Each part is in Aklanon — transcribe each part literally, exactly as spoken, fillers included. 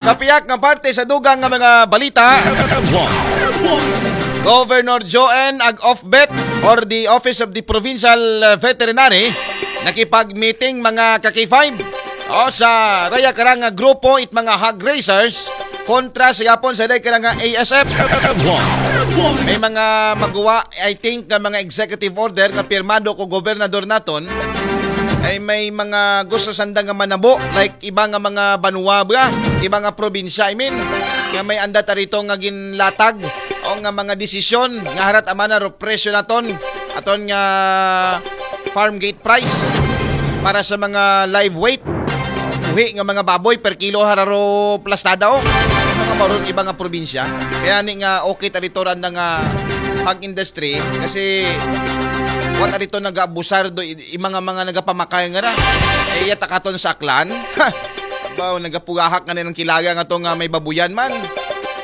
Sa pihak nga parte sa dugang nga mga balita, Governor Joan Ag-Ofbet or the Office of the Provincial uh, Veterinary nakipag-meeting mga ka-K five o sa raya karang nga grupo it mga hog raisers kontra sa yapon sa day karang nga A S F. May mga maguwa, I think, nga mga executive order nga pirmado ko gobernador naton ay may mga gusto sanda nga manabo, like iba nga mga banwa ba, iba nga probinsya, I mean, nga may anda tarito nga ginlatag o nga mga desisyon nga harat amana ro presyo naton, aton nga farm gate price para sa mga live weight. Buhi nga mga baboy per kilo hararo plastada o mga maron iba nga probinsya. Kaya ni nga okay tarito randa nga pag industry kasi wa tarito nag-abusar do i- i- mga mga nagapamakay nga ra. Eh, iya takaton sa Aklan. Ba, nagapugahak nga nilang kilaga nga to nga may babuyan man.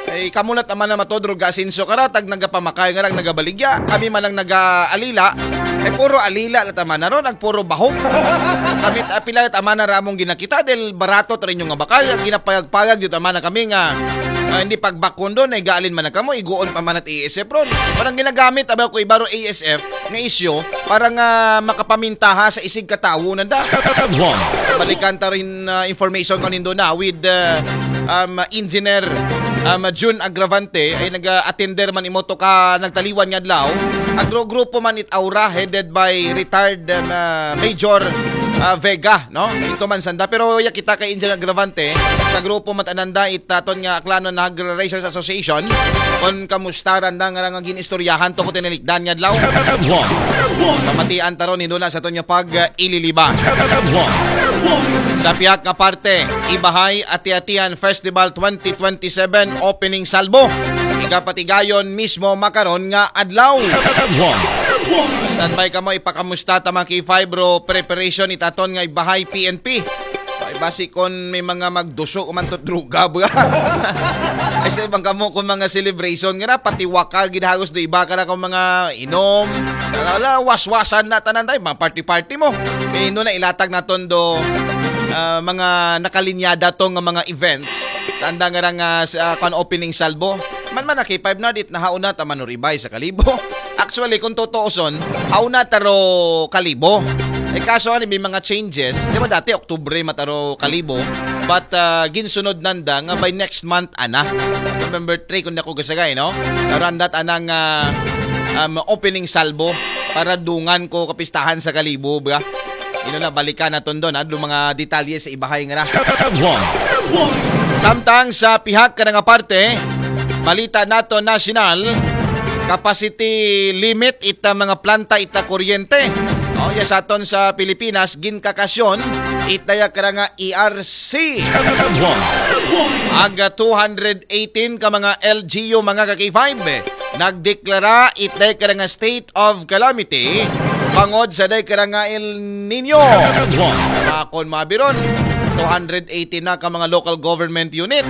Ay, kamo na taman na matodro ga asinso kara, tag nagapamakay nga lang nagabaligya. Kami man ang nagaalila. Ay, puro alila na taman na ron, ang puro bahog. Kami, ah, pila taman na ramong ginakita, dahil barato ta rin yung nga bakal. Ginapayag-payag yun taman na kami nga, ah, hindi pagbakon doon, ay gaalin man na kamo, iguon pa man at A S F ron. Parang ginagamit, aba ko ibaro A S F, nga isyo, para nga makapamintaha sa isig katawo nanda. Balikan ta rin, ah, information kanindo na with, ah, um, Engineer, um, June Agravante ay nag-attender man imo to ka nagtaliwan nga adlaw. Agro grupo man it Aura headed by retired, um, ah, Major, ah, Vega, no? Ito man sanda, pero ya kita kay Engineer Agravante sa grupo man tananda it aton nga Aklanon Hog Raisers Association. Kon kamusta randa nga nga ginistoryahan to ko tinilikdan nga adlaw. Pamatian taron hindula sa aton nga pag, ah, ililiba. Sa pihak nga parte, Ibahay Ati-Atian Festival twenty twenty-seven opening salvo. Ikapatigayon mismo makaron nga adlaw. Standby kamo, ipakamusta ta mga K five ro preparation itaton nga Ibahay P N P. Ay, basi kon may mga magduso man to druga ba? Ay, sa ibang kamo kung mga celebration nga na, pati waka ginahagos do iba ka na kung mga inom. Ala, waswasan na tanan tayo, mga party-party mo. Eh, no na ilatag naton do, ah, mga nakalinyada to nga mga events. Sa anda nga nga sa, ah, kwan opening salvo. Man man na K five na, dit nahauna ta manuribay sa Kalibo. Actually, kung tutuuson, hauna taro Kalibo. Eh, kaso ani, may mga changes. Di ba dati, Oktubre mataro Kalibo. But, ah, ginsunod nanda nga by next month, ana. November three, kung di ako gasagay, no? Pero andat anang, ah, um, opening salvo para dungan ko kapistahan sa Kalibo, ba? Ino na, balikan naton doon, ha? Doon mga detalye sa Ibahay nga na. Samtang sa pihak ka nga parte, balita nato nasyonal, capacity limit ita mga planta ita kuryente. O, ya sa aton sa Pilipinas, ginkakasyon, ita ya kara nga E R C. Aga two hundred eighteen ka mga L G U, mga ka K five, nagdeklara ita ya kara nga state of calamity bangod sa day kara nga El Nino. Akon mabiron, two hundred eighty na ka mga local government unit.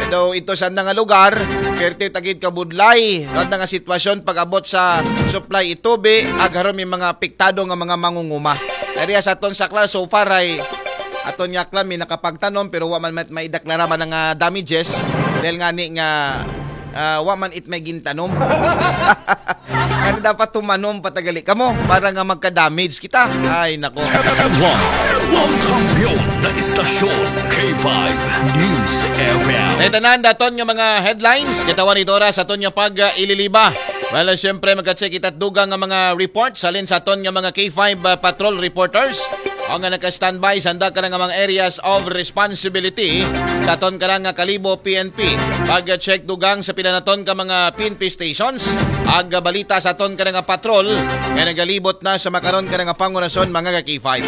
Ito, ito sa nga lugar, perte tagid kabudlay. Randa nga sitwasyon pag-abot sa supply itubi, agharon may mga apektado nga mga mangunguma. Area sa aton sa Aklan, so far ay aton nga Aklan may nakapagtanom pero wa man mat-, maideklara man nga damages dahil nga ni nga, ah, wa man it may gintanom. Ano dapat tumanom patagali kamo para nga magka-damage kita? Ay, nako. Ang kampiyon na istasyon, K five News F M. Ito na ang daton nga mga headlines. Katawan ito oras sa aton nga pag-ililiba. Well, siyempre, magka-check ita't dugang nga mga reports. Halin sa aton nga mga K five, ah, patrol reporters. O nga naka-standby sa handa ka nga mga areas of responsibility sa aton ka nga Kalibo P N P. Pag-check dugang sa pila naton ka mga P N P stations. Ag balita sa aton ka nga patrol nga nagalibot na sa makaron ka nga pangurason, mga ka K five.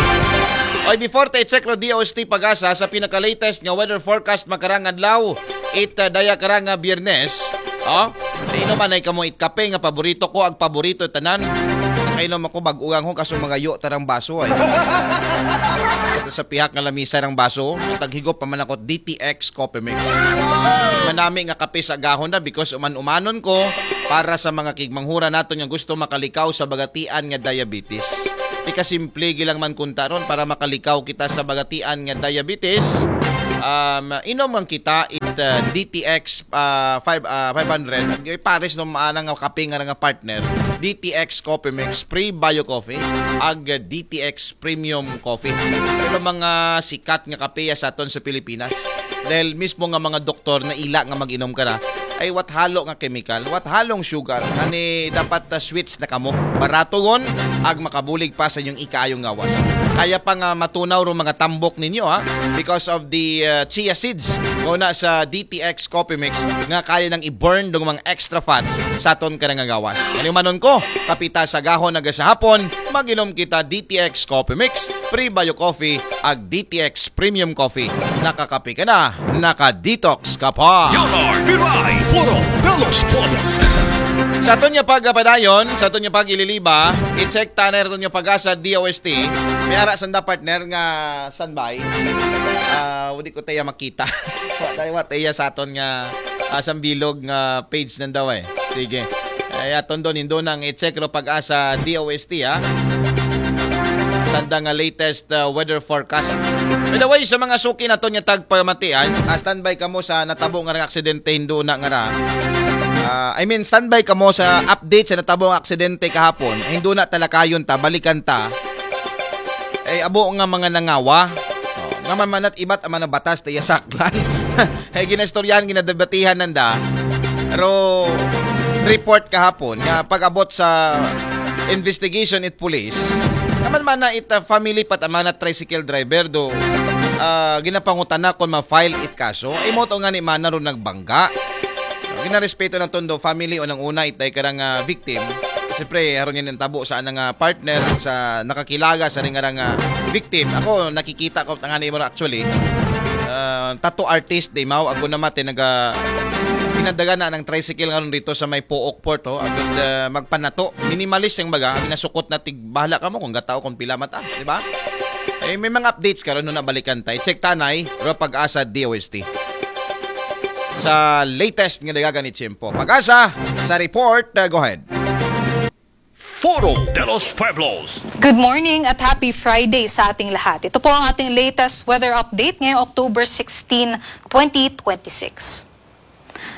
Oy, before tayo check ro D O S T Pagasa sa pinaka-latest nga weather forecast makarang adlaw, it, uh, daya karang, uh, Biyernes. Oh, ino man ay kamo it kape nga paborito ko, ag paborito tanan. Kainom ako bag-uang ho kaso magayo tarang baso ay. Ito sa pihak nga lamisa ng baso, taghigop pa man ako D T X Coffee Mix. Manami nga kape sa gahon na because uman-umanon ko para sa mga kigmanghura naton nga gusto makalikaw sa bagatian nga diabetes. Di ka simple gilang man kuntaron para makalikaw kita sa bagatian nga diabetes. Um, inom nga kita it uh, D T X uh, five, uh, five hundred. Ag pares no maana nga kape nga nga partner, D T X Coffee Mix, Prebio Coffee, ag D T X Premium Coffee. Pero mga sikat nga kape sa aton sa Pilipinas. Dahil mismo nga mga doktor na ila nga mag-inom ka na, ay what halo nga chemical, what halong sugar, ani dapat uh, switch na kamo. Baratugon, ag makabulig pa sa inyong ikaayong ngawas. Kaya pa nga matunaw ro mga tambok ninyo ha, because of the uh, chia seeds nga una sa D T X Coffee Mix nga kaya nang i-burn dong mga extra fats sa aton ka nga gawas. Ano manon ko, kapita sa gahon nga sa hapon, mag-inom kita D T X Coffee Mix, Prebio Coffee, ag D T X Premium Coffee. Nakakape ka na, naka-detox ka pa. Yonard Viray, Foro de los Pueblos. Sa aton nga pagpadayon, sa aton nga pag-ililiba, i-check ta na aton nga pag-asa D O S T. May ara sanda partner nga standby. Ah, wala ko tayo makita. Wa tayo, wa tayo sa aton nga ah, sambilog nga page nanda eh. Sige. Ay, aton don, indo nang i-check ro pag-asa D O S T ha. Sanda nga latest uh, weather forecast. By the way, sa mga suki naton nga tagpamatian, uh, standby kamo sa natabo nga nga aksidente, hindo na nga ra. Uh, I mean, standby kamo sa update sa natabo nga aksidente kahapon. Hindo na talakayon ta, balikan ta. Ay, abo nga mga nangawa. Oh, nga man manat ibat ang mga batas tayo saklan. Ay, ginastoryahan, ginadebatihan nanda. Pero report kahapon nga pag-abot sa investigation it police, naman mana it uh, family pat ang mga tricycle driver do uh, ginapangutana kung ma-file it kaso. Ay mo to nga ni mana ro nagbangga. Ginarespeto na tondo family o nang una itay karang uh, victim. Siyempre, haron yan ang tabo sa anang uh, partner, sa nakakilaga sa ringarang uh, victim. Ako, nakikita ko tangani mo actually. Uh, tattoo artist, di mao. Ako naman, tinaga pinadaga na ng tricycle ngayon dito sa may Pook Port, oh. Agad uh, magpanato. Minimalist yung baga. Ang nasukot na tig, bahala ka mo kung gatao kung pila mata, di ba? Eh, may mga updates karon no nabalikan tayo. Check tanay, ro pag-asa D O S T. Sa latest nga dagagan ni Chimpo. Pag-asa, sa report, uh, go ahead. Foro de los Pueblos. Good morning at happy Friday sa ating lahat. Ito po ang ating latest weather update ngayong October sixteen, twenty twenty-six.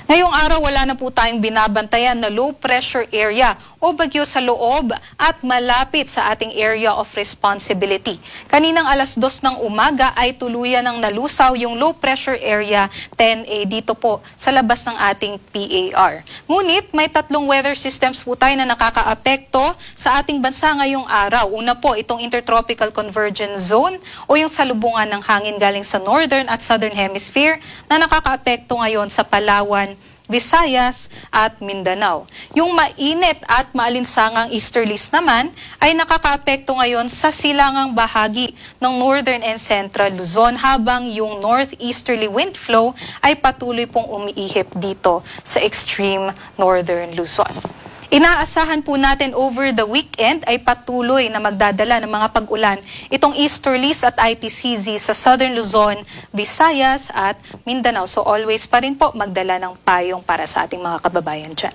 Ngayong araw, wala na po tayong binabantayan na low pressure area o bagyo sa loob at malapit sa ating area of responsibility. Kaninang alas dos ng umaga ay tuluyan ng nalusaw yung low pressure area ten A dito po sa labas ng ating P A R. Ngunit may tatlong weather systems po tayo na nakakaapekto sa ating bansa ngayong araw. Una po, itong Intertropical Convergence Zone o yung salubungan ng hangin galing sa northern at southern hemisphere na nakakaapekto ngayon sa Palawan, Visayas at Mindanao. Yung mainit at maalinsangang easterlies naman ay nakakaapekto ngayon sa silangang bahagi ng northern and central Luzon, habang yung northeasterly wind flow ay patuloy pong umiihip dito sa extreme northern Luzon. Inaasahan po natin over the weekend ay patuloy na magdadala ng mga pag-ulan itong easterlies at I T C Z sa southern Luzon, Visayas at Mindanao. So always pa rin po magdala ng payong para sa ating mga kababayan dyan.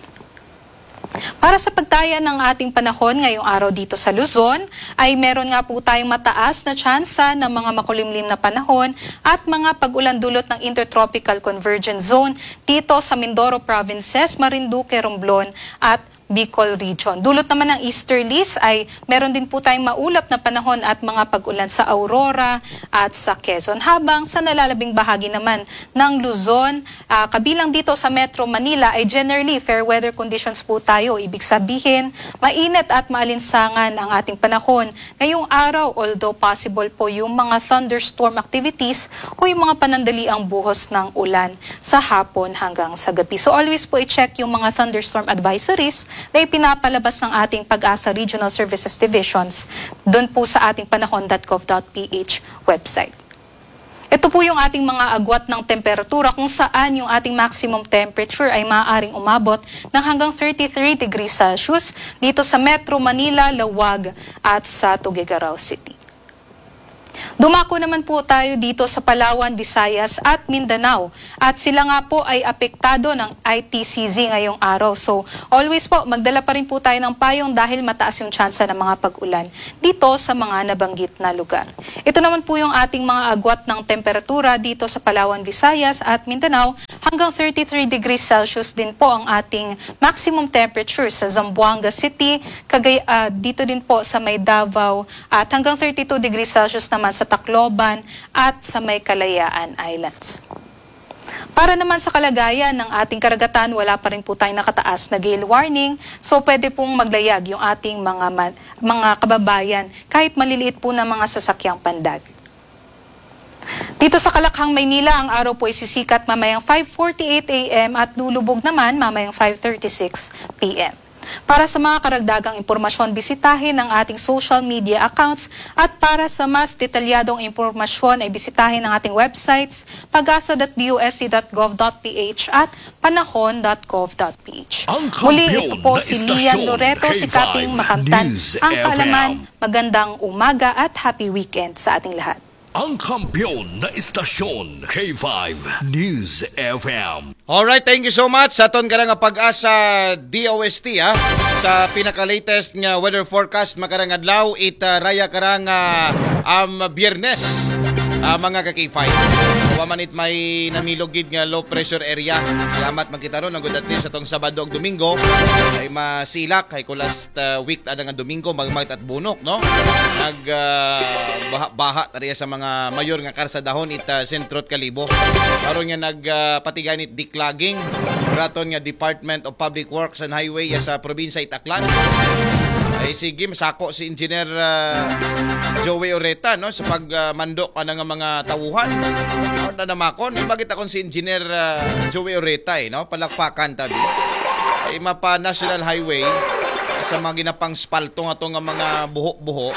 Para sa pagtaya ng ating panahon ngayong araw dito sa Luzon, ay meron nga po tayong mataas na tsansa ng mga makulimlim na panahon at mga pag-ulan dulot ng Intertropical Convergence Zone dito sa Mindoro Provinces, Marinduque, Romblon at Bicol Region. Dulot naman ng easterlies ay meron din po tayong maulap na panahon at mga pag-ulan sa Aurora at sa Quezon. Habang sa nalalabing bahagi naman ng Luzon, ah, kabilang dito sa Metro Manila ay generally fair weather conditions po tayo. Ibig sabihin, mainit at maalinsangan ang ating panahon ngayong araw, although possible po yung mga thunderstorm activities o yung mga panandaliang buhos ng ulan sa hapon hanggang sa gabi. So always po i-check yung mga thunderstorm advisories na ipinapalabas ng ating Pag-asa Regional Services Divisions doon po sa ating panahon dot gov dot P H website. Ito po yung ating mga agwat ng temperatura kung saan yung ating maximum temperature ay maaaring umabot ng hanggang thirty-three degrees Celsius dito sa Metro Manila, Laoag at sa Tuguegarao City. Dumako naman po tayo dito sa Palawan, Visayas at Mindanao. At sila nga po ay apektado ng I T C Z ngayong araw. So, always po, magdala pa rin po tayo ng payong dahil mataas yung tsansa ng mga pag-ulan dito sa mga nabanggit na lugar. Ito naman po yung ating mga agwat ng temperatura dito sa Palawan, Visayas at Mindanao. Hanggang thirty-three degrees Celsius din po ang ating maximum temperature sa Zamboanga City, Cagay, ah, dito din po sa may Davao at hanggang thirty-two degrees Celsius naman sa Tacloban at sa may Kalayaan Islands. Para naman sa kalagayan ng ating karagatan, wala pa rin po tayong nakataas na gale warning, so pwede pong maglayag yung ating mga, man- mga kababayan kahit maliliit po na mga sasakyang pandag. Dito sa Kalakhang, Maynila, ang araw po ay sisikat mamayang five forty-eight a m at lulubog naman mamayang five thirty-six p m. Para sa mga karagdagang impormasyon, bisitahin ang ating social media accounts at para sa mas detalyadong impormasyon ay bisitahin ang ating websites pagasa.dosc.gov.ph at panahon.gov.ph. Muli, ito po si Lian Loreto, si Kating Makamtan, ang kaalaman. Magandang umaga at happy weekend sa ating lahat. Ang kampiyon na istasyon, K five News F M. Alright, thank you so much sa aton karang Pag-asa D O S T, ha. Sa pinaka-latest nga weather forecast makarang adlaw, it uh, raya karang uh, um, Biyernes, uh, mga ka-K five. Wa man it may namilog gid nga low pressure area. Salamat, magkita ron ang good, at least atong Sabado ug Domingo ay masilak, ay kulas uh, week ada nga Domingo, magmagit at bunok, no? Nag uh, baha, baha tariya sa mga mayor nga karsadahon it uh, sentro at Kalibo. Aron nga nag uh, patiganit declogging, raton nga Department of Public Works and Highway ya sa probinsya it Aklan. Ay sige, masako si Engineer uh, Joey Oreta, no, sa pagmando uh, ka nga mga tawuhan. Ano na namakon, ibagit akon si Engineer uh, Joey Oreta, eh, no? Palakpakan tabi. Ay mapa National Highway sa mga ginapang spalto nga to nga mga buho-buho.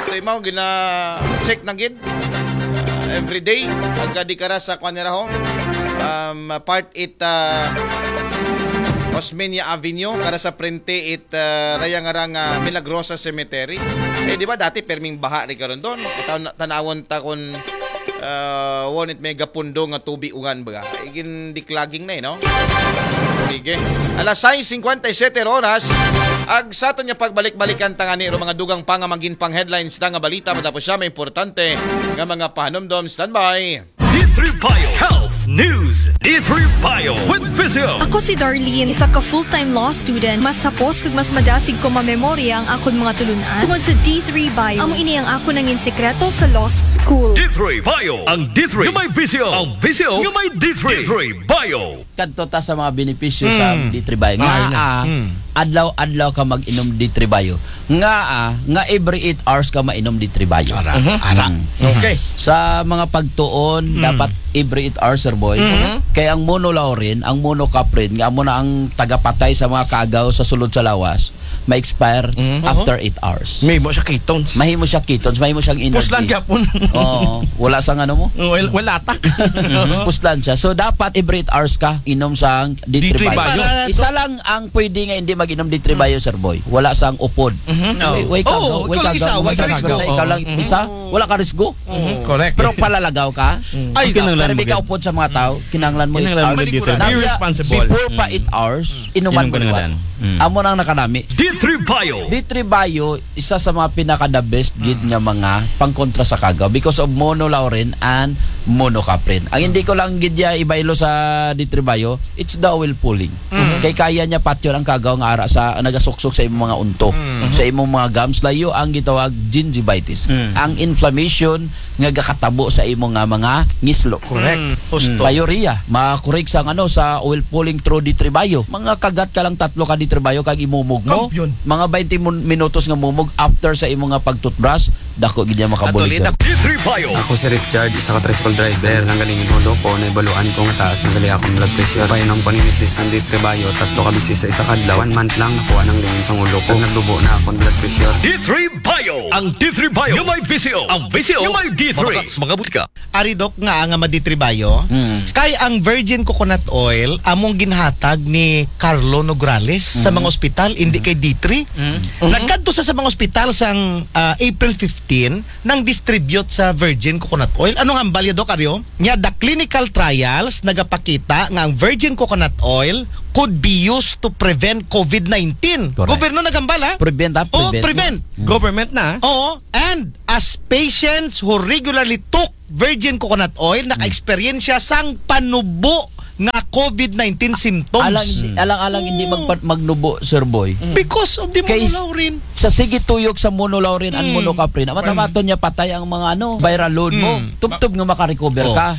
So, imaw gina-check na gid uh, every day pagka di kara sa kwanira ho. Um, part it uh, Osmeña Avenue, kara sa prente it uh, raya nga rang uh, Milagrosa Cemetery. Eh, di ba dati perming baha ri karon doon? Tan- tanawon ta kon uh, won it may gapundo nga tubi ugan baga. Igin declogging na eh, no? Sige. Alas sais singkwenta y siyete oras, ag sa aton nga pagbalik-balikan tangani ro mga dugang pa nga magin pang headlines ta nga balita matapos siya may importante nga mga pahanumdom. Standby. D three Bio Health News. D three Bio with Physio. Ako si Darlene, isa ka full-time law student. Mas hapos kag mas madasig ko mamemorya ang akon mga tulunan tungod sa D three Bio. Amo ini ang akon nangin sikreto sa law school. D three Bio. Ang D three nga may Physio. Ang Physio nga may D three. D three Bio. Kadto ta sa mga benepisyo sa D three Bio. Nga Ay, na. ah, Mm. adlaw-adlaw ka mag-inom D three Bio. Nga ah, nga every eight hours ka mainom D three Bio. Ara, ara. Mm. Okay. Sa mga pagtuon, dapat every eight hours, sir boy. Kay ang monolaurin, ang monocaprin, nga amo na ang tagapatay sa mga kaagaw sa sulod sa lawas, ma-expire Mhm. after eight hours. May mo siya ketones. Mahimo siya ketones, mahimo siyang energy. Puslan gyapon. Oo, wala sang ano mo. Well, wala tak. Puslan siya. So dapat every eight hours ka inom sang D three D three Bio. Bio. Isa lang ang pwede nga hindi mag-inom D three Bio, sir boy. Wala sang upod. Mhm. Way, way Oo, kagaw, way ikaw lang isa, kagaw, wala way ka kagaw. risgo. Sa ikaw lang isa, wala ka risgo. Correct. Pero palalaga ka. Ay, Pero kinahanglan may mo gid. kaupod sa mga tao, kinahanglan mo Kinahanglan mo eight hours. gid, Tito. Now, Be yeah, responsible. Before pa eight hours, inuman Inom mo ka na liwat. lang. Mm. Amo nang nakanami. D three Bio. D three Bio, isa sa mga pinaka the best gid nga mga pangkontra sa kagaw because of monolaurin and monocaprin. Ang hindi ko lang gid ya ibaylo sa D three Bio, it's the oil pulling. Kay kaya niya patyon ang kagaw nga ara sa nagasuksok sa imong mga unto, sa imong mga gums, layo ang gitawag gingivitis. Ang inflammation nga gakatabo sa imong nga mga ngislo. Correct. Pyorrhea, makurig sa ano, sa oil pulling through D three Bio. Mga kagat ka lang tatlo ka D three Bio kag imumog mo. Kampiyon. Mga twenty mun- minutos nga mumog after sa imong nga pag-toothbrush, dako gid niya makabulig, sir. D three Bio. Ako si Richard, isa ka tricycle driver. Nang galing yung ulo ko, naibaluan ko nga taas na gali akong blood pressure. Painom ko ni misis ang D three Bio, tatlo ka bisis sa isa ka adlaw. One month lang, nakuha nang lingin sa ulo ko. Naglubo na akong blood pressure. D three Bio. Ang D three Bio. Yung may Physio. Ang Physio. Yung may D three. Mga butika. Ari, Doc, nga nga maditribayo. Mm. Kay ang virgin coconut oil among ginhatag ni Carlo Nograles sa mga ospital, hindi kay D three. Nagkadto sa, sa mga ospital sang ah, April fifteen. nineteen nang distribute sa virgin coconut oil. Anong hambal ya, Doc Ario? Nya, the clinical trials nagapakita nga ang virgin coconut oil could be used to prevent covid nineteen. Correct. Gobyerno naghambal, ha? Prevent, ha? Oh, Prevent. Prevent. Government na. Oo, and as patients who regularly took virgin coconut oil, naka-experience siya sang panubo nga covid nineteen symptoms. Alang, alang, alang hindi magpa- magnubo, Sir Boy. Because of the Kay- monolaurin. Sa sige tuyok sa monolaurin and Mm. monocaprin, amat-amaton niya patay ang mga ano, viral load mo. Mm. Tubtob nga makarecover Oh. ka.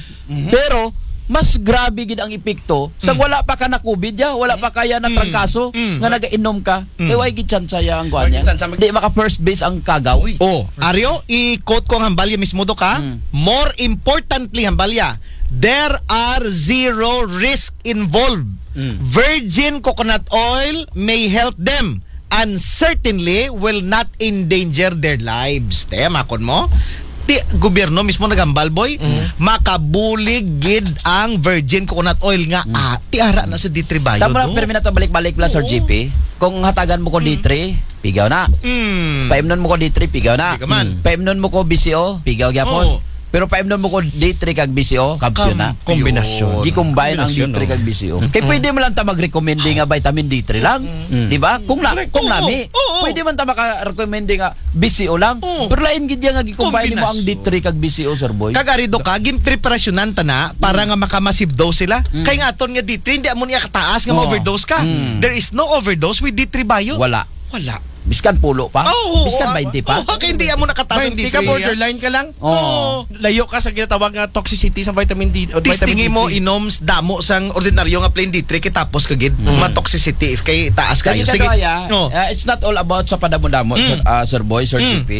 Pero mas grabe gid ang epekto sa wala pa ka na-covid ya, wala pa kaya na trangkaso, Mm. nga nagainom ka, kay way gid tsansa ya ang kuan niya. Gid tsansa mag- Di maka first base ang kagaw. Oh, Ario, i-quote ko ang hambalya mismo, Doc, ha? Mm. More importantly, hambalya, there are zero risk involved. Virgin coconut oil may help them and certainly will not endanger their lives. Te, makon mo? Ti gobyerno mismo naghambal, boy, makabulig gid ang virgin coconut oil nga ah, ti ara na sa D three Bio. Tama na, Do. Permi, na to balik-balik lang, Sir Oo. G P. Kung hatagan mo ko D three, pigaw na. Mm. Paimnon mo ko D three, pigaw na. Di ka man. Paimnon mo ko B C O, pigaw gyapon. Oo. Pero paimnon mo ko D three kag B C O, kampiyon na. Kampiyon. Kombinasyon. Gi-combine ang Kombinasyon, D three kag B C O. Kay pwede man lang ta mag-recommend nga vitamin D three lang. Di ba? Kung na, Correct. kung Oo. nami, Oo. pwede man ta maka-recommend nga B C O lang. Oo. Pero lain gid ya nga gi-combine mo ang Kombinasyon. D three kag B C O, Sir Boy. Kag ari, Doc, ha, ginpreparasyonan ta na para nga maka-massive dose sila. Kay nga aton nga D three, hindi amo niya kataas nga Oo. ma-overdose ka. Mm. There is no overdose with D three Bio. Wala. Wala. Biskan pulo pa? Oo, Biskan oo. twenty pa? Oo, kay hindi amo nakataas ang Twenty ka, D three. Borderline ka lang. Oo. Layo ka sa ginatawag nga toxicity sa vitamin D. O Testingi vitamin mo, D three. inom damo sang ordinaryo nga plain D three, kay tapos ka gid. Ma-toxicity kay taas kayo. Kaya Sige. Kaya, No. uh, it's not all about sa padamo-damo, Mm. Sir, uh, Sir Boy, Sir Mm. G P.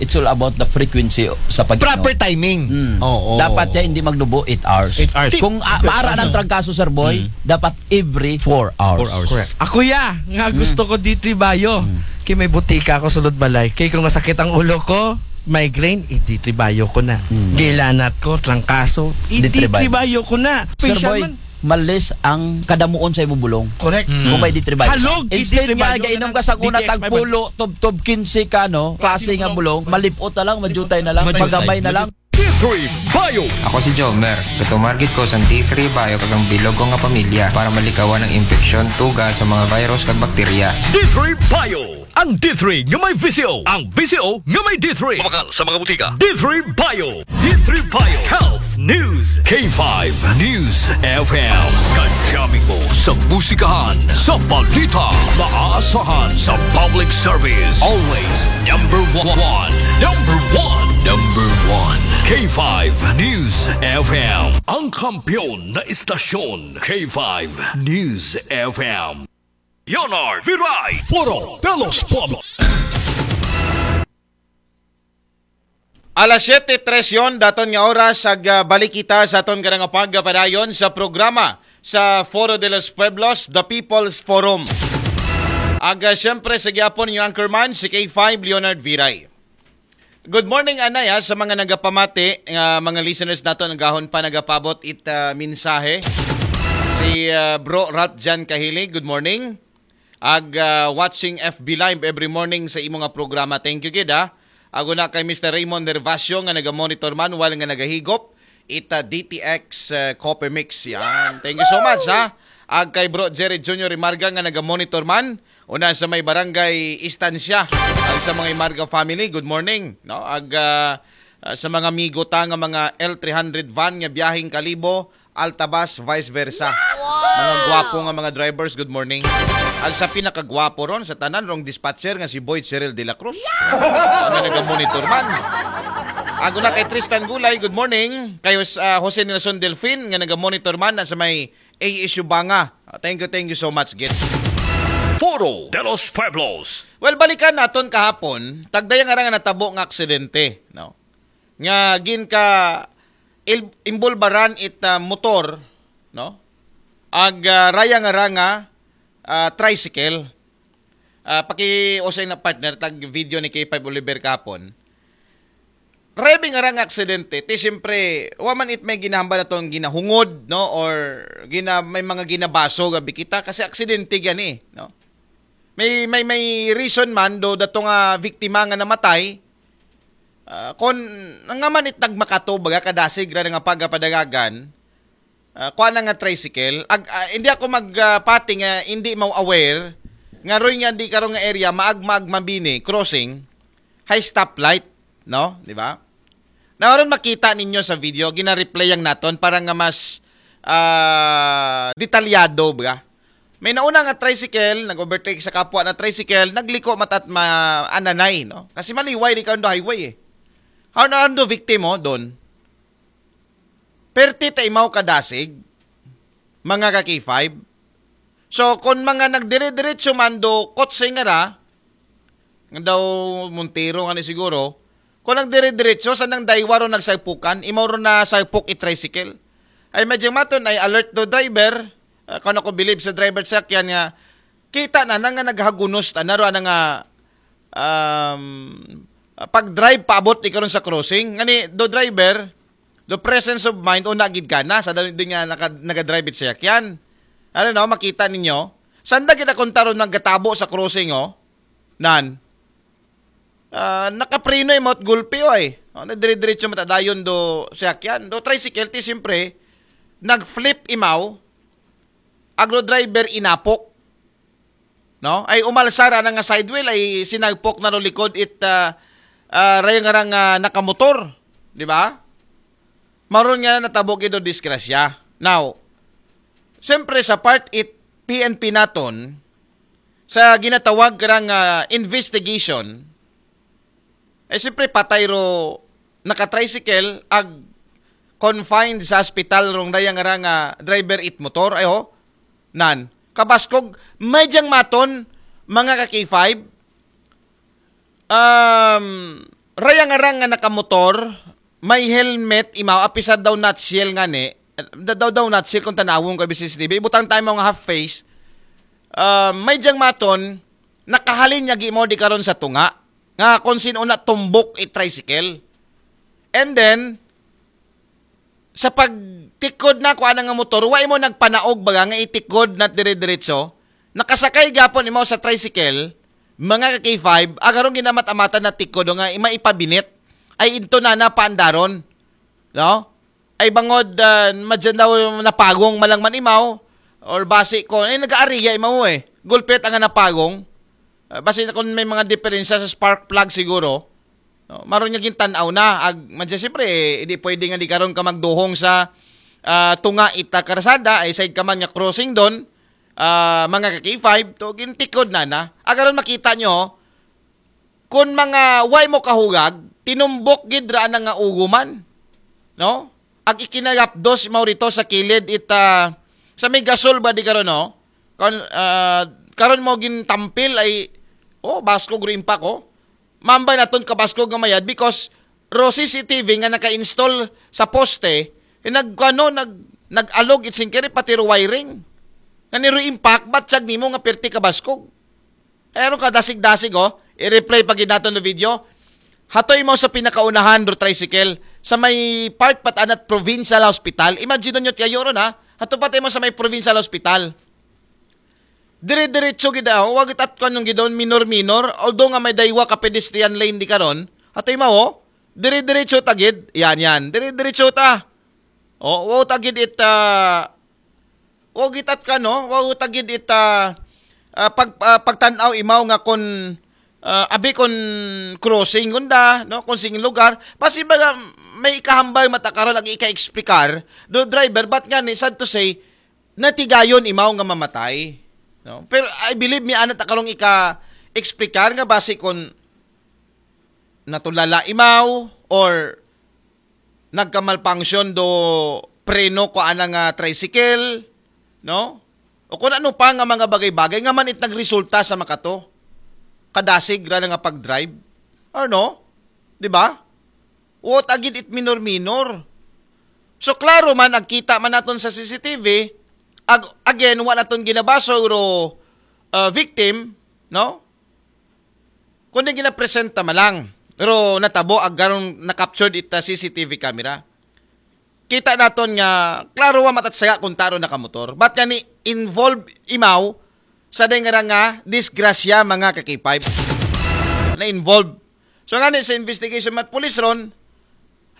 It's all about the frequency sa pag Proper timing. Mm. Oo. Dapat yan hindi magnubo eight hours. Eight hours. Kung uh, maara ng trangkaso, Sir Boy, dapat every four hours. Four hours. Correct. Ako ya, nga gusto ko D three Bio. Kay may butika ako sulod balay. Kay kung masakit ang ulo ko, migraine, i-D three Bio ko na. Gilanat ko, trangkaso, D three Bio. i-D three Bio ko na. Sir Special Boy, man. Malis ang kadamuon sa imong bulong. Correct. Kung may D three Bio. Halog, Instead D three nga Bio gainom na ka sa lang, una D T X tag pulo, tub, tub, quince ka, no? Klase nga bulong, malipot na lang, majutay na lang, magamay na lang. D three Bio. Ako si Jomer. Gatumar gid ko sa D three Bio kag ang bilog ko nga pamilya para malikawan ang impeksyon, tuga sa mga virus kag bakterya. D three Bio. Ang D three nga may V C O. Ang V C O nga may D three. Mabakal sa mga butika. D three Bio. D three Bio. Health News. K five News F M. Kajami mo sa musikahan, sa balita, maaasahan sa public service. Always number one. Number one. Number one. K five News F M. Ang kampiyon na istasyon, K five News F M. Leonard Viray. Foro de los Pueblos. Alas siyete tres yon, daton nga oras, ag ah, balik kita sa aton kanang pagpadayon sa programa sa Foro de los Pueblos, The People's Forum. Ag ah, siyempre, sa gyapon yung anchorman, si K five Leonard Viray. Good morning, anay, ha, sa mga nagapamati, nga mga listeners nato, nagahon pa nagapabot it ah, mensahe. Si ah, Bro Ralph Jan Kahili, good morning. Ag ah, watching F B Live every morning sa imo nga programa. Thank you gid, ha. Ag una kay Mister Raymond Nervacio nga naga-monitor man while nga nagahigop ita D T X ah, Coffee Mix. Yan. Thank you so much, ha. Ag kay Bro Jerry Junior Imarga nga naga-monitor man una sa may barangay Estancia. Ag sa mga Imarga family, good morning, no? Ag ah, ah, sa mga migo ta nga mga L three hundred van nga biyaheng Kalibo, Altabas, vice versa. Mga gwapo nga mga drivers, good morning. Ag sa pinakagwapo ron sa tanan, rong dispatcher nga si Boy Cheryl de la Cruz. Nga naga-monitor man. Ag una kay Tristan Gulay, good morning. Kay Jos- ah, Jose Nelson Delfin nga naga-monitor man na sa may A S U Banga. Ah, thank you, thank you so much, gid. Foro de los Pueblos. Well, balikan naton kahapon, tagdaya nga ra nga natabo nga aksidente, no? Nga gin ka il- imbulbaran it ah, motor, no? Ag ah, raya nga ra nga ah, tricycle. Ah, paki-usay na, partner, tag video ni K five Oliver kahapon. Raya nga ra nga aksidente, ti siyempre, wa man it may ginahambal atong ginahungod, no? Or gina, may mga ginabaso gabi kita kasi aksidente gani, no? May may may reason man do dato nga biktima nga namatay, Ah, kon nga man it nagmakato, baga kadasig ra nga pagapadagagan, ah, kuan na nga tricycle. Ag, ah, hindi ako magpati nga hindi mo aware nga roy nga di karon nga area, maag-, maag-, mabini, crossing, high stoplight, no? Di ba? Na aron makita ninyo sa video, gina-replay ang naton para nga mas, ah, detalyado ba. May nauna nga tricycle, nag-overtake sa kapwa na tricycle, nagliko matat ma ananay, no? Kasi maliway di karon do highway eh. How na do victim mo doon? Perti ta imaw kadasig, mga ka K five. So, kung mga nagdire-diretso man do kotse nga ra, nga daw Montero nga ni siguro, kung nagdire-diretso, sa nang daywa ro nagsagpukan, imaw ro na sagpok i tricycle. Ay, medyo maton ay alert do driver, ah, kung ako believe sa driver sa sakyan nga, kita na na nga naghagunos ta na ro, ana nga, um, pag-drive paabot di karon sa crossing. Ngani, do driver, do presence of mind, una gid ka na, sa dali din nga naka, nagadrive it sa sakyan. Ano no, makita ninyo? Sanda gid akong taron naggatabo sa crossing, oh. Nan. Ah, nakapreno imot gulpi, oy. Oh, na dire-diretso matadayon do sakyan. Do tricycle, ti siyempre, nag-flip imaw, agro driver inapok. No? Ay umalsa ra na nga sidewheel, ay sinagpok na ro likod it, ah, ah, rayang nga, ah, nakamotor. Di ba? Maron nga natabo gid do disgrasya. Now, siyempre sa part it P N P naton, sa ginatawag karang, ah, investigation, ay siyempre patay ro naka-tricycle ag confined sa hospital rong dayang nga driver it motor. Ay ho, nan. Kabaskog, may diyang maton, mga ka K five, um, rayang nga nakamotor, may helmet, imaw, apisad daw nutshell nga ni, da-, daw daw nutshell kung tanawon ko B C C T V, ibutang tayo mga half face, ah, may diyang maton, nakahalin niya gimo di karon sa tunga, nga kung sino na tumbok i tricycle. And then, sa pagtikod na kuan nga motor, wa imo nagpanaog baga nga itikod na dire-diretso, nakasakay gapon imo sa tricycle, mga ka K five, agarong ginamat-amatan na tikod nga ima ipabinit, ay into na napaandaron, no? Ay bangod, ah, madyan daw napagong malang man imaw, or basi ko, ay nag-aariya imaw eh. Gulpit ang napagong. Ah, basi na kung may mga diferensya sa spark plug siguro, no? Maron nga gintan-aw na. Ag, madyan siyempre, hindi pwede nga di karon ka magduhong sa, ah, tunga ita karsada, ay side ka man nga crossing doon, ah, mga ka K five, to gintikod na na. Agaron makita nyo, kung mga way mo kahugag, tinumbok gid ra na nga uguman, no? Ag ikinagapdos mo rito sa kilid ita, sa may gasol ba di karon, no? Karon, ah, karon mo gintampil ay, oh, baskog ro impact, oh. Mambay naton kabaskog nga mayad because ro C C T V nga naka-install sa poste, eh, nag-, ano, nag-, nag-alog it singkiri, pati ro wiring. Nga ni ro impact, batsag nimo nga perti kabaskog. Pero ka dasig-dasig, oh. I-replay pa gid naton no video. Hatoy mo sa pinakaunahan do tricycle sa may part pat anat provincial hospital. Imagine nyo tiyayo ron, ha. Hato pa mo sa may provincial hospital. Dire-diretso gid daw, wag itat ko anong gidon, minor-minor. Although nga may daywa ka pedestrian lane di karon. Hatoy mo, oh. Dire-diretso ta gid. Yan, yan. Dire-diretso ta. Oh, wow ta gid it, ah, Wa gitat ka, no? Wa ta gid ita, ah, pag, ah, pagtan-aw imaw nga kon, ah, abi kon crossing kunda, no? Kon sing lugar, basi baga may ikahambal matakaron ag ika-explicar do driver, but nga ni sad to say natigayon imaw nga mamatay, no? Pero I believe mi ana takarong ika-explicar nga basi kon natulala imaw or nagkamalfunction do preno ko ana nga tricycle, no? O kung ano pa nga mga bagay-bagay nga man it nagresulta sa makato kadasig ra nga pag-drive. Or no? Di ba? What agid it minor-minor. So klaro man, agkita man naton sa C C T V, ag-, again, wa naton ginabaso ro, uh, victim, no? Kundi ginapresenta man lang. Pero natabo agaron na-captured ita C C T V camera. Kita naton nga klaro wa matatsaga kung taro nakamotor. But nga ni involve imaw sa day nga nga disgrasya, mga ka-K five. Na-involve. So ngani sa investigation man it pulis ron,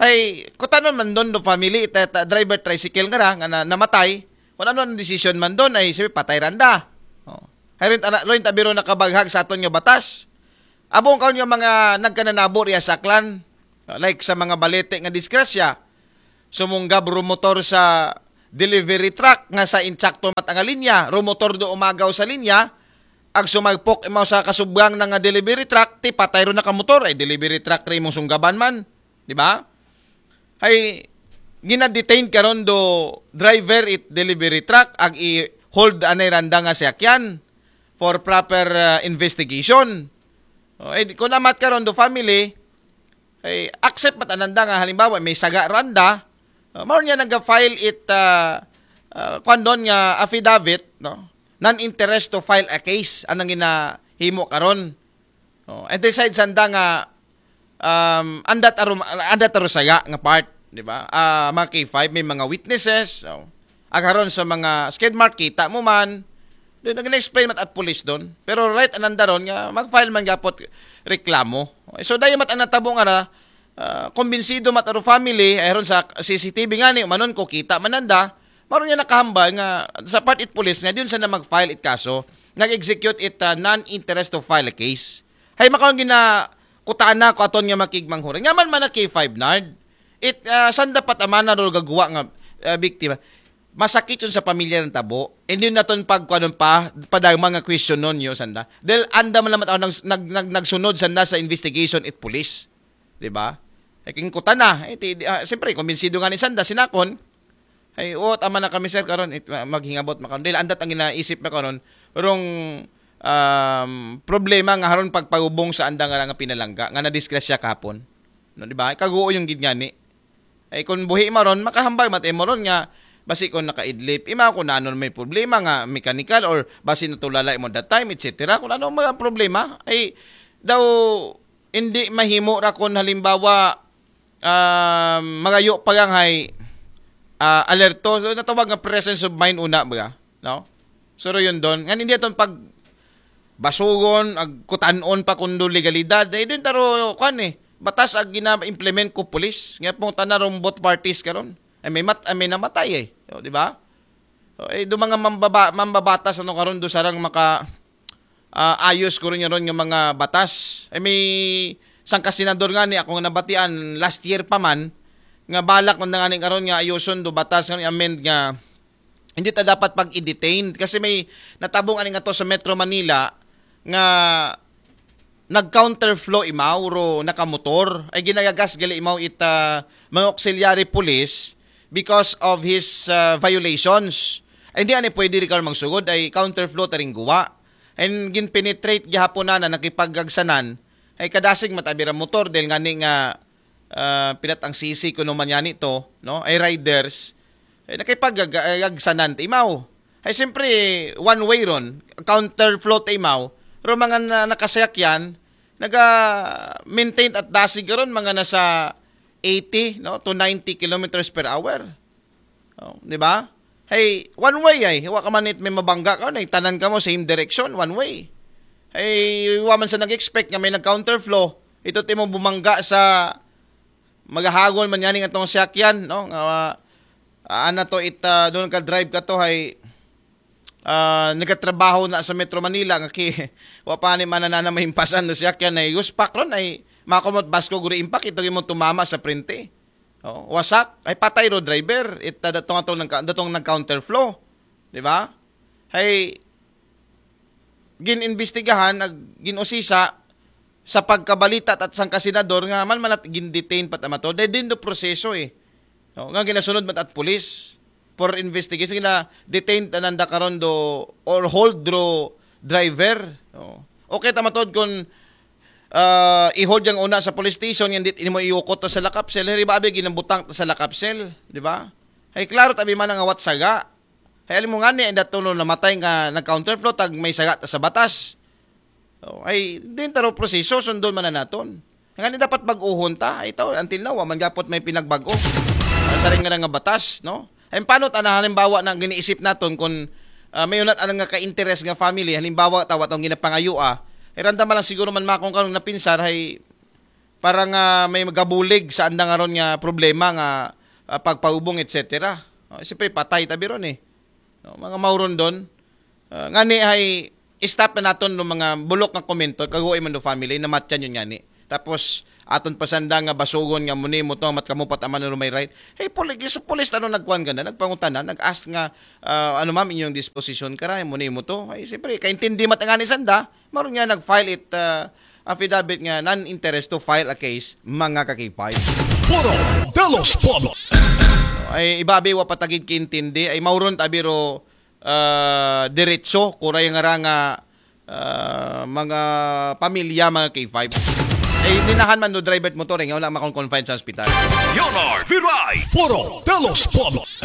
ay, kung ano man doon do family, ita, ita, driver tricycle nga ra, nga na, namatay, kung ano ang decision man doon, ay, sabi, patay randa. Oh. Ay, rin, ana, rin tabiro nakabaghag sa aton nga batas. Abong kaon nga mga nagkananabo riya sa Aklan, like sa mga balete nga disgrasya, sumunggab rumotor sa delivery truck nga sa insakto mat nga linya, rumotor do umagaw sa linya, ag sumagpok imaw sa kasubgang na nga delivery truck, ti patay ro nakamotor, ay delivery truck ri mong sunggaban man, di ba? Ay, gina-detain karon do driver it delivery truck, ag i-hold anay randa nga siyakyan for proper uh, investigation. O, eh, kung amat karon do family, ay accept mat ananda nga halimbawa may saga randa, uh, mao niya nag-file it uh, uh, kwan doon nga affidavit, no? Non-interest to file a case anang ginahimo karon. Oh, and decide sanda nga um, andat aro andat aro saya nga part, di ba? Ah, mga K five may mga witnesses. Oh. Agaron sa mga skid mark kita mo man. Doon nag-explain mat at police doon. Pero right ananda ron nga mag-file man gapot reklamo. So dahil mat ang natabo nga ra, uh, kumbinsido mat aro family ay ron sa C C T V nga ni manon ko kita mananda, maron niya nakahambal nga sa part it police nga diyon sa na mag-file it kaso, nag-execute it uh, non-interest to file a case. Hay makaon gina kutana ko aton nga makigmanghuran. Nga man man na K five Nard. It uh, saan dapat amana ro gagawa nga uh, biktima? Masakit yun sa pamilya ng tabo. And yun naton pagkuanon pa, padang mga question nun yun, sanda. Dahil anda man naman ako nag, nag, nag, nagsunod sanda sa investigation at police. Di ba? E king kutana, eh, ti, di, ah, siyempre, kumbinsido nga ni sanda, sinakon, ay, o, tama na kami, sir, karon it, ma- maghingabot makaron. Dahil andat ang ginaisip na karon, rong um, problema nga haron pagpagubong sa anda nga nga pinalangga, nga nadisgrasya kahapon. No, di ba? Kaguo yung gid ngani. Ay kung buhi maron, makahambal mat imo ron nga basi kung nakaidlip, ima ko na anon may problema nga mechanical or basi natulala imo that time, et cetera. Kung ano mga problema, ay daw hindi mahimo ra kung halimbawa um, magayo pa lang hay uh, alerto. So, natawag nga presence of mind una ba, no? Suro yun doon. Ngan hindi aton pag basugon, ag kutanon pa kundo legalidad. Eh, din taro, kwan eh, batas ag gina-implement ko pulis. Nga pong tanarong both parties karon. Ay may mat, ay may namatay eh. O, di ba? So, eh, do mga mambaba, mambabatas ano karon do sarang maka ah, ayos ko rin ron nga mga batas. Ay may sangka senador nga ni ako nga nabatian last year pa man nga balak na nga ni karon nga ayoson do batas nga amend nga hindi ta dapat pag-detain kasi may natabong ani nga to sa Metro Manila nga nag-counterflow imaw ro nakamotor ay ginagagas gali imaw ita mga auxiliary police because of his uh, violations. Ay hindi ani pwede rin karon magsugod ay counterflow taring guwa. And ginpenetrate gihapon na na nakipagagsanan ay kadasig matabira motor dahil nga ni nga uh, pinat ang sisi kuno man yani to, no? Ay riders ay nakipagagsanan ta imaw. Ay siyempre one way ron, counterflow ta imaw. Pero mga na, nakasayakyan, naga-maintain at dasig ron mga nasa eighty no to ninety kilometers per hour. Oh, di ba? Hey, one way ay, wa ka man it may mabangga ka, nay tanan ka mo same direction, one way. Hey, wa man sa nag-expect nga may nag-counterflow. Ito timo bumangga sa magahagon man yaning atong sakyan, no? Nga uh, ana to it uh, doon ka drive ka to hay uh, nagatrabaho na sa Metro Manila nga ki wa pa ni mananana mahimpasan no sakyan ay uspak ron ay makumot basko guri impak ito mo tumama sa printe. Oh, wasak ay patay ro driver. It uh, datong atong nagka, datong nag counterflow, di ba? Hay ginimbestigahan ag ginusisa sa pagkabalita at sang kasenador nga man manat gindetain pat amato. Dahil din do proseso eh. No, nga ginasunod man at police for investigation gina detain ananda karon do or hold do driver. No. Okay tamatod kung uh, i-hold yang una sa police station yan dit mo iukot to sa lakapsel. Hiri ba abi ginabutang to sa lakapsel, di ba? Hay klaro tabi man nga watsaga. Hay alam mo nga ni inda tulo namatay nga nag-counterflow tag may saga ta sa batas. Oh, ay din taro proseso sundon man na naton. Nga ni dapat bag-uhon ta, ay ito, until now, wa man gapot may pinagbago. Uh, sa rin nga nga batas, no? Ay paano ta na halimbawa na giniisip naton kung uh, may unat anang nga ka-interest nga family, halimbawa tawa tong ginapangayua, ay randa man lang siguro man makong karong napinsar, hay para nga may magabulig sa andang aron nga problema nga ah, pagpaubong, et cetera. Oh, siyempre, patay tabi ron eh. No, mga mauron doon. Ah, ngani ay stop na naton no mga bulok nga komento, kaguoy man do family, namatyan yun ngani. Tapos, aton pasanda nga basugon nga muni mo to, mat kamupat aman no may right. Hey, puli, sa pulis ano nagkuhan ka na, nagpangutana, nag-ask nga, ah, ano ma'am inyong disposition kara, muni mo to. Ay, siyempre, kaintindi mat ngani sanda, maron nga nag-file it ah, affidavit nga non-interest to file a case, mga ka-K five. Foro de los Pueblos. Ay ibabi wa patagid kiintindi ay mauron tabiro ah, diretso kuray nga ra nga ah, mga pamilya, mga K five. Ay ninahan man do driver motor nga wala makon confine sa ospital. Leonard Viray. Foro de los Pueblos.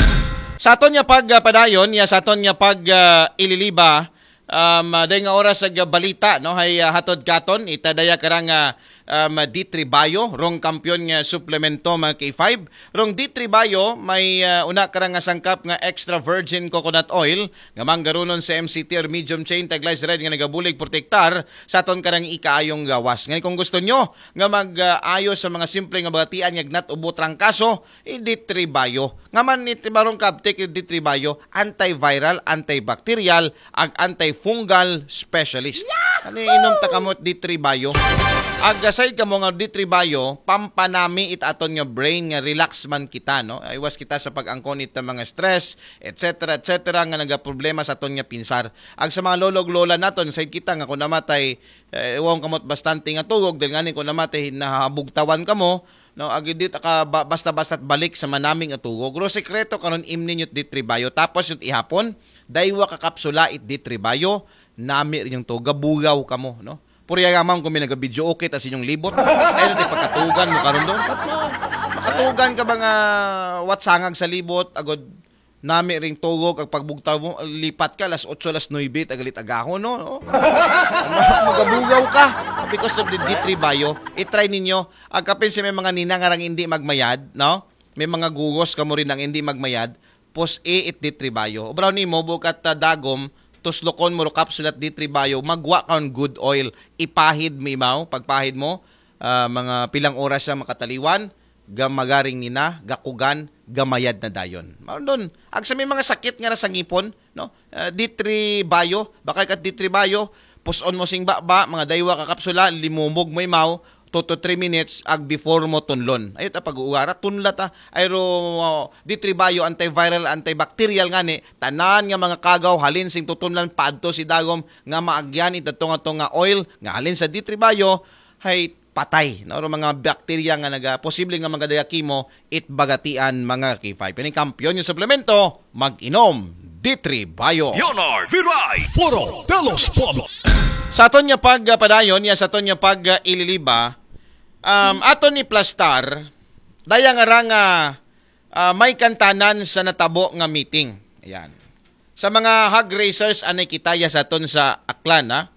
Sa aton nga pagpadayon, ya sa aton nga pag ah, ililiba, um, ah, day nga oras ag balita, no, hay ah, hatod katon, itadaya karang ah, um, D three Bio, rong kampiyon nga suplemento, mga K five. Rong D three Bio, may ah, una karang nga sangkap nga extra virgin coconut oil, nga manggarunon sa M C T or medium chain, taglays red nga nagabulig protektar sa aton karang ikaayong gawas. Ngayon kung gusto nyo nga mag-ayo sa mga simple nga bagatian nga gnat ubo trangkaso, i D three Bio. Nga man iti barong kabtik D three Bio, antiviral, antibacterial, ag antifungal specialist. Ano yung inom ta kamot D three Bio? Ag aside kamo nga D three Bio, pampanami it aton nga brain nga relax man kita, no? Iwas kita sa pag-angkon it mga stress, et cetera, et cetera nga nagaproblema sa aton nga pinsar. Ag sa mga lolo ug lola naton, say kita nga kung namatay, eh, iwang kamot bastante nga tugog, dahil nga ni kung namatay, nahabugtawan kamo, no? Ag di ta ka ba- basta-basta balik sa manaming atugog. Ro sekreto karon imni yung D three Bio. Tapos yung ihapon, daywa ka kapsula it D three Bio, nami rin yung to, gabugaw kamo, no? Puriya nga man kung may nagabidyo okay tas inyong libot. Ay, di pagkatugan mo karon doon. Ba't mo? Makatugan ka ba nga watsangag sa libot? Agod nami ring tugog ag pagbugtaw mo, lipat ka alas otso, alas nuebe, tagalit agahon, no? No? Magabugaw ka because of the D three Bio. I-try ninyo. Agkapin si may mga ninang arang hindi magmayad, no? May mga gugos kamo rin ang hindi magmayad. Pus-i it D three Bio. Ubraw nimo, bukat ah, dagom, tuslokon mo ro kapsulat D three Bio, magwa ka ng good oil. Ipahid mo imaw, pagpahid mo, ah, mga pilang oras siya makataliwan, gamagaring nina, gakugan, gamayad na dayon. Maron doon, ag sa may mga sakit nga nasa ngipon, no? Ah, D three Bio, bakal ka D three Bio, puson mo sing baba, mga daywa ka kapsula, limumog mo imaw, two to three minutes, ag before mo tunlon. Ayot ang pag-uugara, tunla ta. Ay ro, D three Bio, antiviral, antibacterial nga ni, tanan nga mga kagaw, halin sing tutunlan, paadto si dagom, nga maagyan, ito nga to nga oil, nga halin sa D three Bio, hay patay, no? Ro mga bakterya nga naga, posible nga magadaya kimo, it bagatian, mga K five. Ini kampiyon yung suplemento, mag-inom, D three Bio. Leonard Viray. Foro de los Pueblos. Sa aton nga pagpadayon, ya sa aton nga pag-ililiba, um, aton iplastar, daya nga ra nga ah, may kantanan sa natabo nga meeting. Ayan. Sa mga hog raisers, anay kita ya sa aton sa Aklan, ha?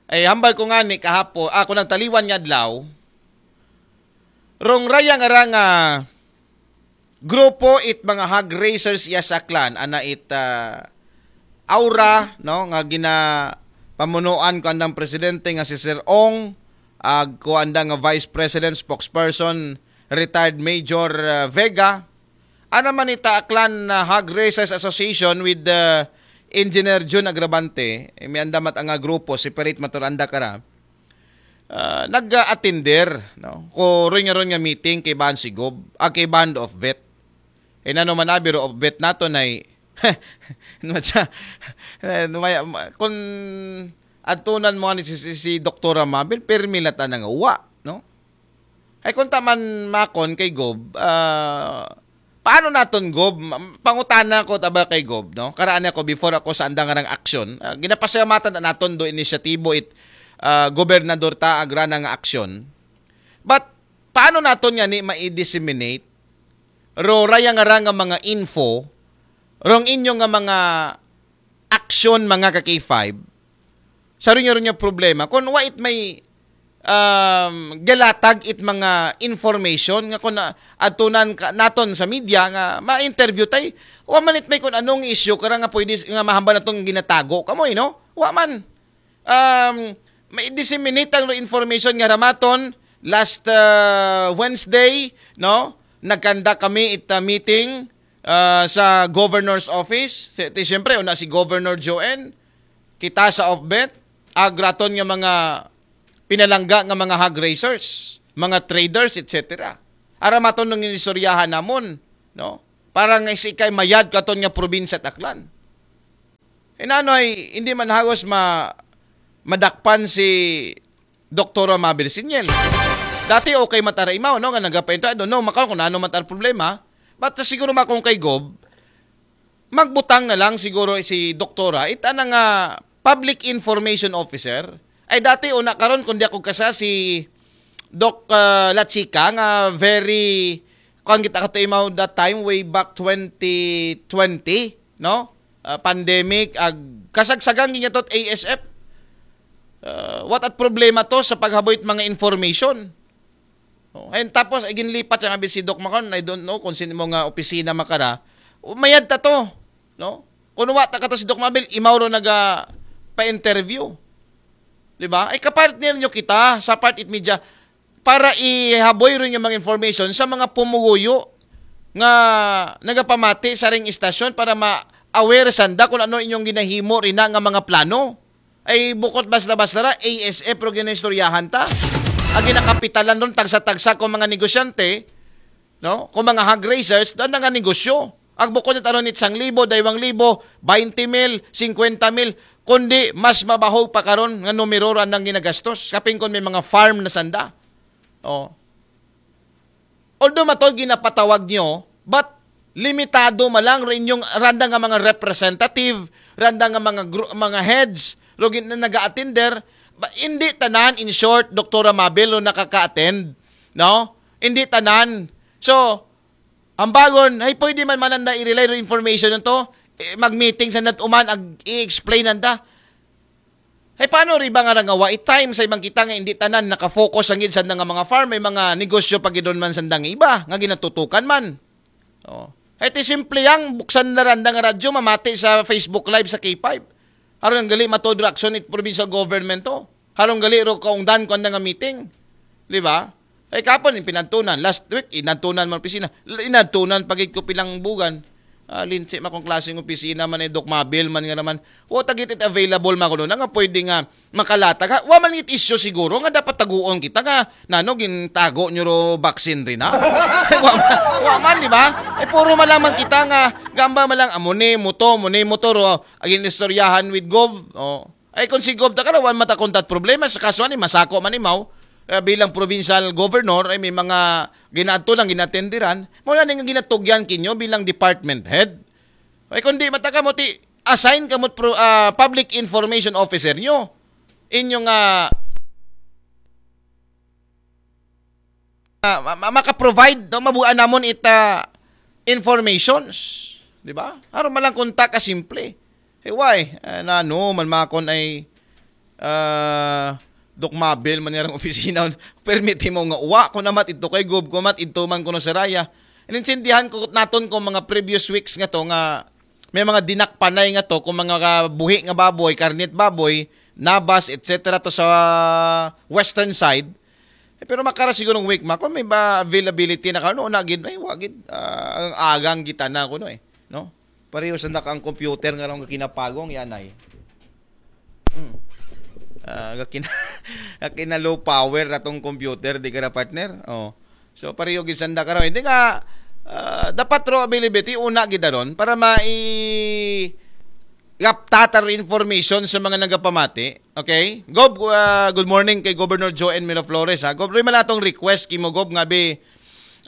Ay, hambal ko nga ni kahapo, ah, kung nagtaliwan nga adlaw, rong raya nga ra nga grupo it mga hog raisers ya sa Aklan, ana it ah, Aura, no, nga gina pamunuan ko andang presidente nga si Sir Ong, ag ko andang nga vice president spokesperson, retired Major ah, Vega. Ana man ita Aklan ah, Hog Raisers Association with the Engineer Jun Agravante, eh, may anda mat nga grupo, separate maturanda kara. Ah, nag-attender, no? Ko ron nga ron nga meeting kay Ban Sigob, ah, kay Ban of Vet. Eh, nano man abi ro of Vet nato na eh, ano siya? Eh, may, ma- kung atunan mo ni si, si, si Doktora Mabel, permi lata nga wa, no? Ay kung taman makon kay Gob, ah, paano naton Gob? Ma- Pangutana ko taba kay Gob, no? Karaan ako before ako sa andang nga aksyon. Ah, ginapasalamatan na naton do inisyatibo it ah, gobernador ta agrana nga aksyon. But paano naton nga ni ma-disseminate ro raya nga ra nga mga info, rong inyo nga mga aksyon, mga ka K five, sa rinyo rinyo problema kung wa it may um, galatag it mga information nga kung na, adtunan ka, naton sa media nga ma-interview tay, wa man it may kung anong issue kara nga pwede s- nga mahambal natong ginatago kamoy, no? Wa man. Um, may disseminate ang information nga ramaton Last uh, Wednesday, no, nagkanda kami ita meeting uh, sa governor's office. Si, ti, siyempre, una si Governor Joen, kita sa OFBET, agraton nga mga pinalangga nga mga hog raisers, mga traders, et cetera. Ara maton ng inistoryahan namon, no? Para nga si kay mayad katon nga probinsya Aklan. Inano ay hindi man hagos ma madakpan si Doktora Mabel Sinyel. Dati okay matara imaw, no? Nga nagapainto, I don't know, makaw kung ano matar problema. But uh, siguro makong kay Gob, magbutang na lang siguro si Doktora. Ita na nga public information officer. Ay dati una karon kung di ako kasa si Doc uh, Lachika nga very kuan kita kato imaw that time way back twenty twenty, no? Uh, pandemic, ag kasagsagang ginyatot A S F. Uh, what at problema to sa paghaboy mga information? Oh, and tapos ay ginlipat sa nga si Doc Macron, I don't know kung sino mo nga opisina makara. Mayad ta to, no? Kung wa ta kato si Doc Mabel, imaw ro naga pa-interview. Di ba? Ay kapartner nyo kita sa Part It Media para ihaboy rin yung mga information sa mga pumuguyo nga nagapamati sa ring istasyon para ma-aware sanda kung ano inyong ginahimo rin nga mga plano. Ay bukot basta-basta ra, A S F ro ginaistoryahan ta. Ang ginakapitalan ron, tagsa-tagsa kung mga negosyante, no? Kung mga hog raisers, doon nga negosyo. Ang bukod nito aron it isang libo, daywang libo, baynte mil, singkwenta mil, kundi mas mabahog pa karon nga numero ra nang ginagastos. Kaping kon may mga farm na sanda. Oh. Although matod ginapatawag nyo, but limitado malang rin yung randa nga mga representative, randa nga mga gru- mga heads, ro gin- na nag-attender, ba, hindi tanan, in short, Doktora Mabel, no, nakaka-attend, no? Hindi tanan. So, ang bagon, ay pwede man mananda i-relay ro information nito, eh, mag-meeting sa nat uman, ag i-explain nanda. Ay paano ri ba nga rangawa i time sa ibang kita nga hindi tanan nakafocus ang gid sa nga mga farm, may mga negosyo pa gidon man sa nga iba nga ginatutukan man. Oh. Ay ti simple yang buksan na randa nga radyo mamati sa Facebook Live sa K five. Aron ang gali matod reaction it provincial government to. Harong gali ro kaungdan ko nga meeting. Di ba? Ay kapon yung pinantunan. Last week, inantunan man opisina. Inantunan pagit ko pilang bugan. Ah, linsi makong klaseng opisina man ay Doc Mabel man nga naman. Wa tagit it available man kuno na nga pwede nga makalatag. Ha? Wa man it issue siguro nga dapat taguon kita nga nano gintago nyo ro vaccine rin ha. wa, man, wa man, di ba? Ay puro malaman kita nga gamba malang amuni, muto, muni, muto ro. Agin istoryahan with Gov. Oh. Ay kung si Gov ta karawan mata kontat problema sa kaso ani masako man imaw eh, bilang provincial governor ay may mga ginaadto lang ginatenderan mo na nga ginatugyan kinyo bilang department head. Ay kung di mata kamo ti assign kamo pro, ah, public information officer nyo. Inyo nga ah, ma- ma- maka-provide no mabuan namon ita informations, di ba? Aron man lang kunta ka simple. Hey, why? Ah, na no man makon ay ah Doc Mabel man nirang opisina permit mo nga uwa ko namat ito kay Gob ko mat ito man kuno sa raya. Inintindihan ko naton ko mga previous weeks nga to nga may mga dinakpanay nga to kung mga buhi nga baboy, karnit baboy, nabas, et cetera to sa western side. Eh, pero makara sigurong week ma kung may ba availability na kano na gid ay wa gid ah, ang agang gitana kuno eh, no? Pareho sa naka ang computer nga ron kinapagong yan ay. Hmm. Ah, gakina, gakina low power na tong computer di ka na partner. Oh. So pareho gid sanda karon. Hindi nga ah, dapat ro availability una gid ron para mai gaptatar information sa mga nagapamati. Okay? Gob, ah, good morning kay Governor Joe N. Miraflores ha. Gob, rin malatong request kimo Gob nga bi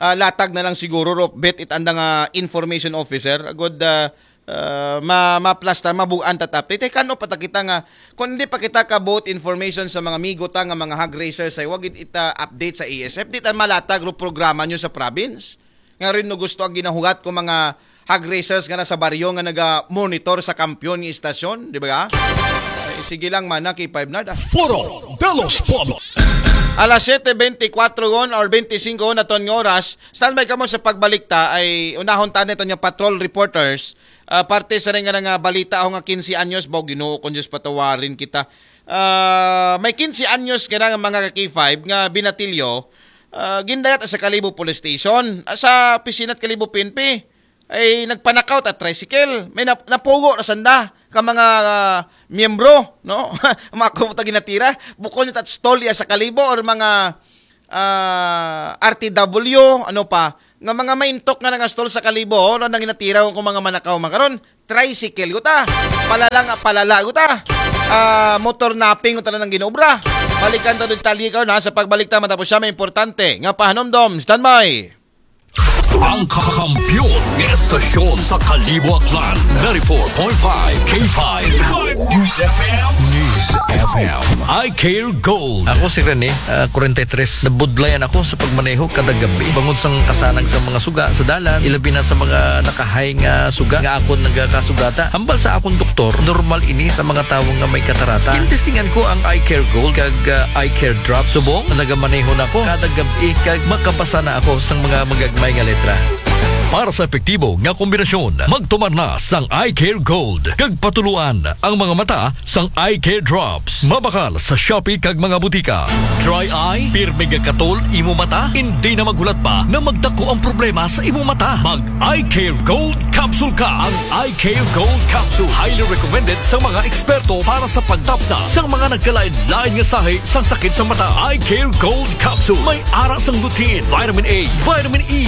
ah, latag na lang siguro ro bet it anda nga information officer. Good ah, ah, ma maplastar mabuan tat update. Eh, kano pa ta kita nga kung hindi pa kita ka both information sa mga migo ta nga mga hog raisers ay wag it ita update sa A S F. Di ta malatag ro programa nyo sa province. Nga rin no gusto ang ginahugat ko mga hog raisers nga nasa baryo nga naga-monitor sa kampiyon ng istasyon, di ba? Ay, sige lang man, K five na. Foro de los Pueblos. Alas siyete bentikwatro gon or bentisinko gon aton nga oras. Standby kamo sa pagbalikta ay unahon ta nito nga patrol reporters. Ah, parte sa rin nga nga balita ako nga quince anyos, baw Ginoo kung Diyos patawarin kita. Ah, may kinse anyos nga na nga mga ka-K five nga binatilyo, ah, gindayat sa Kalibo Police Station, ah, sa opisina sa Kalibo P N P. Ay nagpanakaw ta tricycle. May nap- napugo na sanda ka mga ah, miyembro, no? Mga kumta ginatira. Bukon yung tat stall ya sa Kalibo or mga ah, R T W, ano pa, nga mga maintok nga nga stall sa Kalibo, oh, nang ginatira ko mga manakaw makaron. Tricycle guta. Palala nga palala guta. Ah, motor napping guta na nang ginobra. Balikan ta detalye karon ha sa pagbalik ta matapos siya may importante nga pahanumdom. Standby. Ang kakampiyon ng estasyon sa Kalibo Aklan, ninety-four point five K five News F M. News F M. I Care Gold. Ako si Rene, ah, forty-three. Nabudlayan ako sa pagmaneho kada gabi. Bangod sang kasanag sa mga suga sa dalan, ilabi na sa mga nakahay nga suga nga akon nagakasugata. Hambal sa akong doktor, normal ini sa mga tawo nga may katarata. Gintestingan ko ang Eye Care Gold kag ah, Eye Care Drop. Subong, nagamaneho na ko kada gabi kag makabasa na ako sang mga magagmay nga letra. Para sa epektibo nga kombinasyon, magtumar na sang Eye Care Gold kag patuluan ang mga mata sang Eye Care Drops. Mabakal sa Shopee kag mga butika. Dry eye, pirmi nga katol imo mata, hindi na maghulat pa na magdako ang problema sa imo mata. Mag Eye Care Gold Capsule ka. Ang Eye Care Gold Capsule highly recommended sa mga eksperto para sa pagtapna sa mga nagkalain-lain nga sahi sang sakit sa mata. Eye Care Gold Capsule may ara sang lutein, vitamin A, vitamin E,